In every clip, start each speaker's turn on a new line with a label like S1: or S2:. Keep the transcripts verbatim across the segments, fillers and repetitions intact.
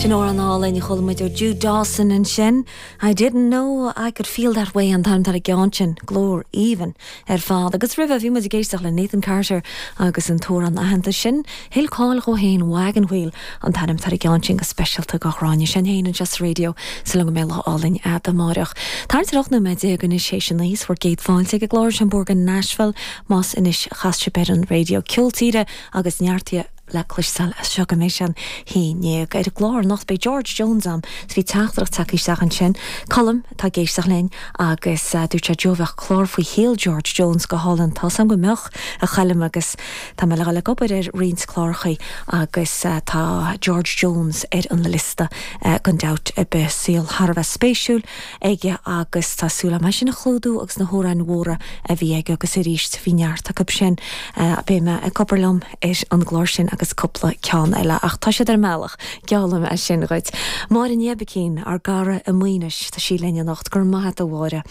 S1: Sin amhrán álainn a chuala muid ó Jude Dawson ansin. I didn't know I could feel that way an t-ainm ar an gceann sin glór aoibhinn ar fad. Agus roimhe bhí muid ag éisteacht le Nathan Carter agus an t-amhrán aitheanta sin, Thuill cáil dó féin Wagon Wheel an t-ainm ar an gceann sin go speisialta do Ghráinne sin féin anseo sa raidió sa go mbeidh lá álainn amárach. Tá ocht nóiméad déag anois théis a naoi bhur gcéad fáilte ag glár sin Borgan Nashville más anois a chas sibh ar an raidió ceol tíre agus neart le cloisteáil as seo go mbeidh sé an haon déag ar an gclár anocht beidh George Jones ann bhí teachtaireacht tagtha isteach ansin Colm tá ag éisteacht linn agus uh, dúirt sé Joe bheadh clár faoi shaol George Jones go hálainn tá go mbeadh a Choilm agus tá mé le le obair ar roinnt cláracha agus uh, tá George Jones ar an liosta uh, gan dabht ar bith saol thar a bheith spéisiúil aige agus tá súil agam sin a chlúdú agus na hamhráin mhóra a bhí aige agus arís bhí neart acu sin uh, beidh mé ag obair liom ar an gclár sin agus cúpla ceann eile ach tá siad ar an mbealach geallaim é sin dhuit. Máire Ní Oibicín ár gcara i Maínis tá sí linn anocht gur maith a Mháire.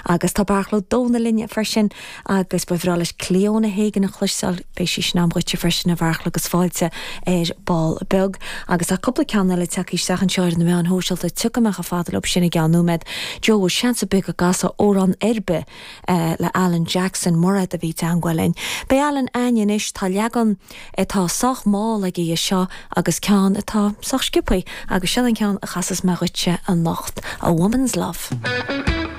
S1: Agus tá Beartla Ó Domhnaill linn freisin agus ba bhreá leis Clíona Hagan a chloisteáil beidh sí sin agam dhuitse freisin a Bheartla agus fáilte ar ball beag agus tá cúpla ceann eile tagtha isteach anseo ar na meáin shóisialta tiocfaidh mé chomh fada leo sin i gceann nóiméad. Joe seans beag go gcasfá amhrán ar bith eh, le Alan Jackson Murad a bhí i dteagmháil linn. Beidh Alan againn anois tá leagan atá sách mall aige seo agus ceann atá sách sciobtha agus sin an ceann a chasfas mé dhuitse anocht a woman's love.